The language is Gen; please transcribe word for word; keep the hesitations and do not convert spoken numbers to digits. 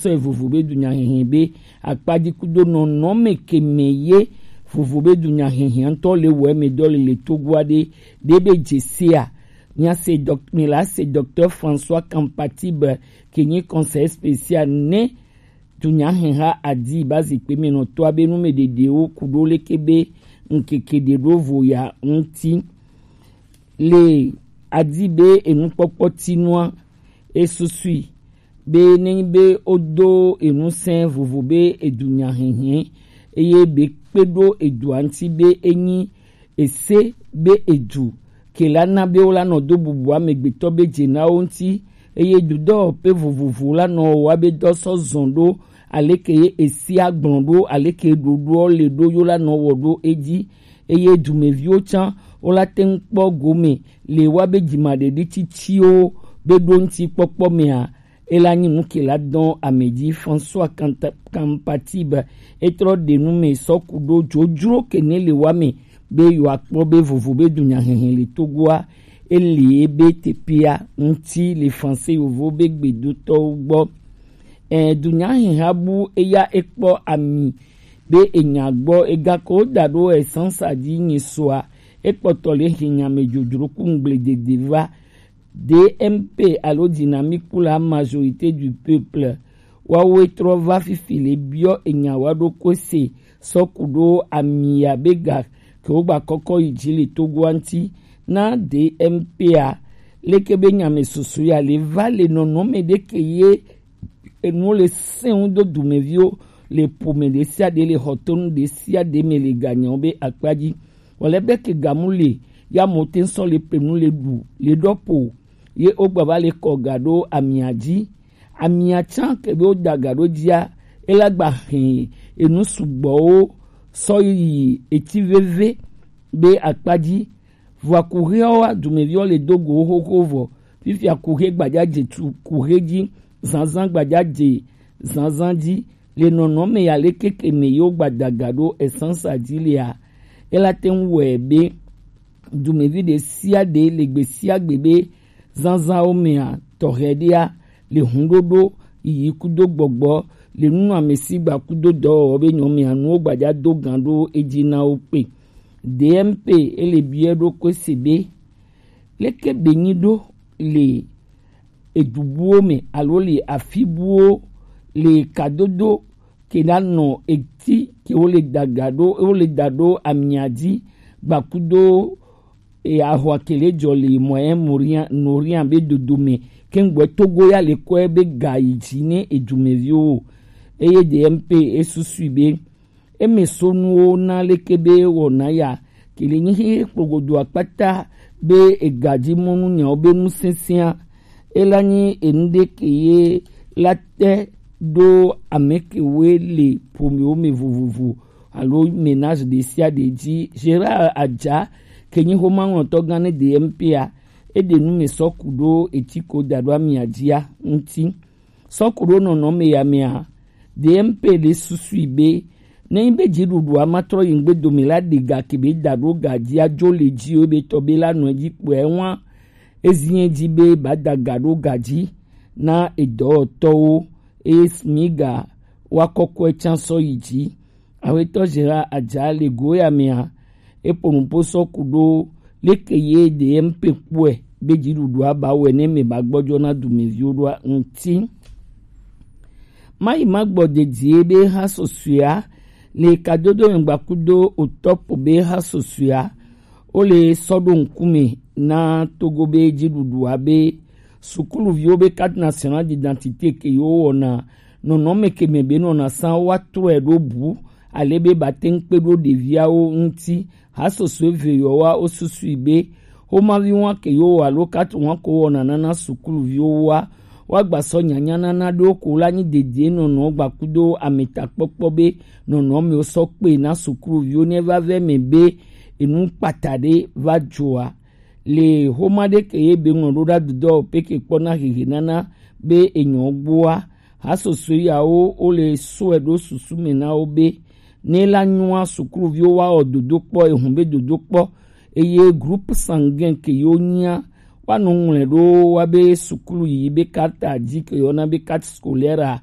sɔe vovo be dunyahehe be akpaji kudo nɔnɔme ke me ye vovo be dunyahehe ŋutɔ le wɔ eme dɔ le le Togo aɖe ɖe be dze sea. Mia se dɔk-, mi la se Docteur François Kampatibe ke nyi conseiller spécial ne dunyaheha adi ba zikpe me nɔtɔa be nu me ɖeɖewo kudo leke be ŋkeke ɖe ɖo vo ya ŋuti. Le adi be enukpɔkpɔ tinua, esusui be nenyi be wodo enusẽ vovo be edunya hihi eye be kpe ɖo edua ŋuti be enyi ese be edu ke la na be wola nɔ do bubu amegbetɔ be dze na wo ŋuti eye dudɔwɔƒe vovovo la nɔ wɔa be dɔ sɔ zɔn ɖo aleke ye esia gblɔ ɖo aleke ɖoɖoɔ le ɖo yo la nɔ wɔ ɖo edzi eye dumeviwo tsã wola te ŋu kpɔ gome le woabe dzimaɖeɖi tsitsiwo be ɖo ŋuti kpɔkpɔ mea, ela nyi nu ke la dɔn ame dzi. François Kanta-, Kampatibe etrɔ ɖe nu me sɔ ku ɖo dzodzro ke ne le wa me be yewoakpɔ be vovo be dunyahehe le Togoa eli ebe teƒea ŋuti le Français yovo be gbedotɔwo gbɔ. Ɛ, dunyaheha bu eya ekpɔ ami be enya gbɔ egako da ɖo esansa dzi nyi soa ekpɔtɔ le hinya me dzodzro ku ŋgble dede va. D M P alo Dynamique pour la majorité du peuple, wawoe trɔ va fifi le biɔ enya wa ɖo kose sɔ ku ɖo amia be ga ke wo gba kɔkɔ yi dzi le Togoa ŋuti na D M P a. Leke be nya me susu ya le va le nɔnɔme ɖe ke ye enuwo le sẽŋu do dumeviwo le ƒome ɖe sia ɖe le xɔtonu ɖe sia ɖe me le ganyawo be akpa dzi. Wòle be ke gamu le ya mo te sɔ le ƒe nu le ɖu le ɖɔ ƒo ye wogba va le kɔ ga ɖo amia dzi. Amia tsã ke be woda ga ɖo dzia, ela gba hẽ enu sugbɔwo sɔ yi eti veve be akpa dzi. Vɔa kuheawoa, dumeviwo le do go wo xoxo vɔ. Fifia kuhe gbadza dze tu kuhe dzi, zanzan gbadza dze zanzan dzi. Le nɔnɔme ya le keke me yewo gbada ga ɖo esansa dzi lea, ela te ŋu wɔe be dumevi ɖe sia ɖe le gbe sia gbe be zanzanwo mea tɔxɛ ɖea le huɖoɖo yiyi kudo gbɔgbɔ le nunɔamesi gba kudo dɔwɔwɔ be nyɔmea nuwo gbadza do gan ɖo edzi na wo kpe. D M P ele biɛ ɖo kose be leke be nyi ɖo le edubuwo me alo le afibuwo le kadodo ke na nɔ eti ke wo le daga ɖo wo le da ɖo amia dzi gba kudo e ahwa ke le dzɔ le moyen moria noria be dodo me ke ŋgbɔ Togo ya le kɔe be ga yi dzi ne edumeviwo eye D M P esusui be eme so nuwo na leke be wɔna ya ke le nyi xexe kplogodo akpata be egadzi mɔnu nyawo be nu sesẽa ela nyi enu ɖe ke ye la te ɖo ame kewoe le ƒomewo me vovovo alo ménage ɖe sia ɖe dzi. Gérard Adja ke nyi xomaŋlɔtɔ gã ne D M P a eɖe nu me sɔ ku ɖo eti ko da ɖo amia dzia ŋuti. Sɔ ku ɖo nɔnɔme ya mea, D M P le susui be ne nyi be dziɖuɖua ma trɔ yi ŋgbe dome la ɖe ga ke be da ɖo ga dzi adzo le dzi o be tɔ be la nɔ edzi kpɔe wa ezinye dzi be ba da ga ɖo ga dzi na edɔwɔtɔwo eye Smiga wa kɔkɔe tsã sɔ yi dzi. Awetɔ Gérard Adja le go ya mea, eƒo nuƒo sɔ ku ɖo leke ye D M P kpɔe be dziɖuɖua ba wɛ ne me ba gbɔdzɔ na dumeviwo ɖoa ŋuti. Mayi ma gbɔ dedie be ha susɔea le kadodo nyɔgba kudo otɔpo be ha susɔea wo le sɔ ɖo ŋkume na Togo be dziɖuɖua be sukuluviwo be carte nationale d'identité ke yewo wɔna nɔnɔme ke me be nɔna san wa trɔe ɖo bu ale be ba te ŋu kpe ɖo ɖeviawo ŋuti. Hasoso eve yɔwa wo susui be xomavi wa ke yewo wɔ alo carte wa ko wɔna nana sukuluviwo wa wa gba sɔ nyanya nana ɖewo ko la nyi dedie nɔnɔ gba kudo ametakpɔkpɔ be nɔnɔmewo sɔ kpe na sukuluviwo ne va vɛ me be enu kpata ɖe va dzoa. Le xoma ɖe ke ye be ŋlɔ ɖo ɖa dudɔ pe ke kpɔ na hehe nana be enyɔ gboa, hasoso yawo wo le sɔe ɖo susu me na wo be ne la nyua sukuluviwo wa wɔ dodo kpɔ ehun be dodo kpɔ eye groupe sanguin ke yo nyia wa nɔ ŋlɔe ɖo wa be sukulu yi be carte dzi ke yɔna be carte scolaire a